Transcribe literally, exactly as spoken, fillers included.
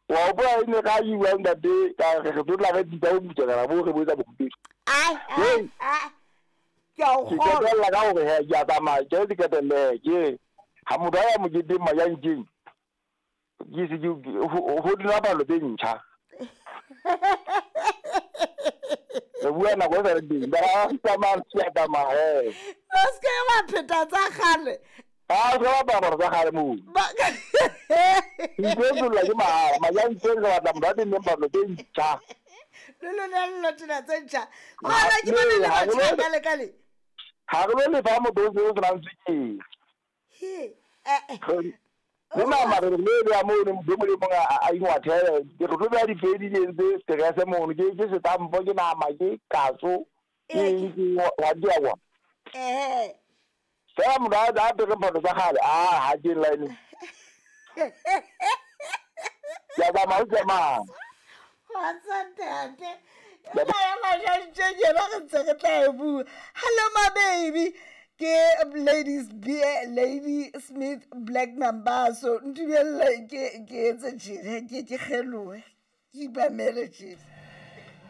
Wa hopola e ne ka iwa ntate ka re re tlo re bitsa o butsa kana bo re botsa bokgutedi. Ai ai ai. Ke a o Ke kgolwa. qetella ka hore he ke a tsamaya ke ke qetelle ke ha motho a ya moketeng Majankeng ke se ke ho ho dula palo tse ntjha. Re bua nako e sa le teng. Ba tsamaya ke a tsamaya he. O se ke wa pheta tsa kgale. Ha o ka bapala tsa kgale moo. Ba- Ntlo ke mahala Majankeng re batla motho a tenneng palo tse ntjha. Le lona le lo tena tse ntjha. Gona ke bone le Ha, batjha ha, ka le ka le. Ha re lo lefa motho o se o senang tswekere. He. Eh, eh. Le nama re le beya mono motho e mong le mong a a ingwathele. Re tlo beya difedi di entse stress mono ke ke setampo ke nama ke katso ke eng ke wa di a bona. Eh. Fela motho a a apere phahlo tsa kgale a ha ke line. Ke a tsamaya o tsamaya. Kgotsa ntate. Ena ya Majankeng yona re ntse re tla e bua. Hello my baby. Ke Ladies B Lady Smith Black Mambazo. Ntumelle ke ke etse tjena ke ke kgelohe. Ke ipamele tjena.